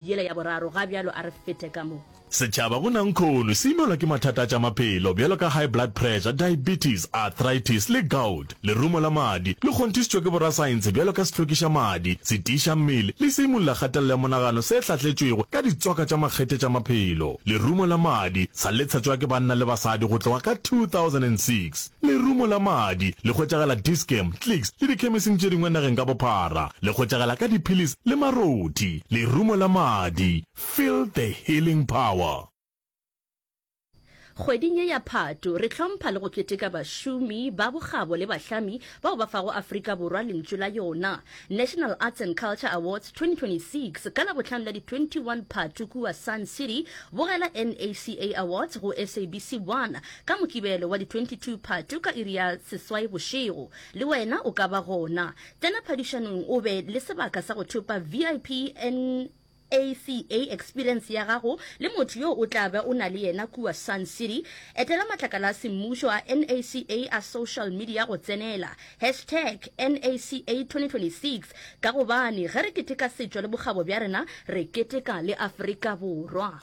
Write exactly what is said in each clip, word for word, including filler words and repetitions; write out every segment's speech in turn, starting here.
Yela ya boraro, ga bjalo a re fete ka mo. Setšhaba go nankhono se imelwa ke mathata a tša maphelo bjalo ka high blood pressure, diabetes, arthritis le gout. Lerumo la madi le kgonthišitšwe ke borasaense bjalo ka sehlwekiša madi, setiiša mmele le seimolla kgatelelo ya monagano se hlahletšwego ka ditswaka tša makgethe tša maphelo. Lerumo la madi sa le tshetšwa ke banna le basadi go tloga ka two thousand and six Lerumo la madi le hwetšagala Dis-Chem, Clicks le dikhemising tše dingwe nageng ka bophara. Le hwetšagala ka diphilisi le marothi. Lerumo la madi, feel the healing power. Kgweding ye ya Phato, re hlompha le go keteka bašomi ba bokgabo le bahlami bao ba fago Afrika Borwa lentšu la yona. National Arts and Culture Awards twenty twenty-six ka Labohlano la di twenty one Phato kua Sun City. Bogela N A C A Awards go S A B C one ka Mokibelo wa di twenty two Phato ka iri ya seswai bošego. Le wena o ka ba gona. Tsena phadišanong o be le sebaka sa go thopa V I P N A C A experience ya gago le motho yo o tla be o na le yena kua Sun City. Etela matlakala a semmušo a N A C A a social media go tsenela. Hashtag N A C A twenty twenty-six ka gobane ge re keteka setšo le bokgabo bja rena, re keteka le Afrika Borwa.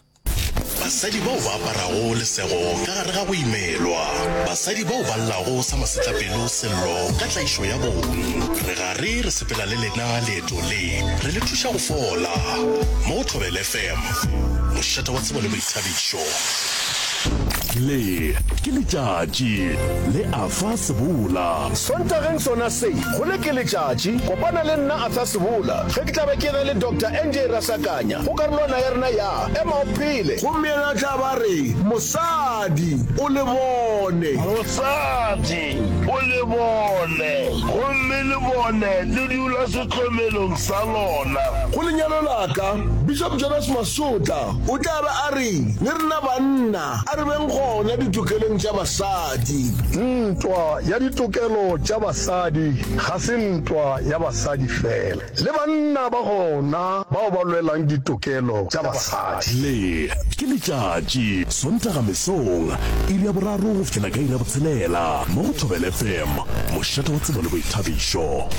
Basadi bao ba aparago lesego ka gare ga go imelwa. Basadi bao ba llago sa masetlapelo sello ka tlaišo ya bong. Re gare re sepela le lena leeto le, re le thuša go fola. Mo go Thobela F M, mošate wa tsebo le boithabišo. Le ke letšatši le Arthur Sebola. Sontageng sona se, go le ke letšatši, kopana le nna Arthur Sebola ge ke tla be ke na le Doctor N J Rasakanya go karolwana ya rena ya Ema o Phele. Gomme yena o tla ba re, Mosadi, o le bone. Mosadi, o le bone, gomme le bone le dula sehlomelong sa lona. Go lenyalo la ka, Bishop Jonas Masotla o tla be a re, Le rena banna a re beng gona ditokelong tša basadi. Ntwa ya ditokelo tša basadi ga se ntwa ya basadi fela, le banna ba gona bao ba lwelang ditokelo tša basadi. Le ke letšatši, Sontaga mesong, iri ya boraro go fihlela ka iri ya botshelela, mo go Thobela F M, mošate wa tsebo le boithabišo.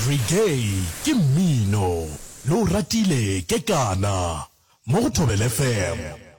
Reggae ke mmino, le o ratile kekana, mo go Thobela F M.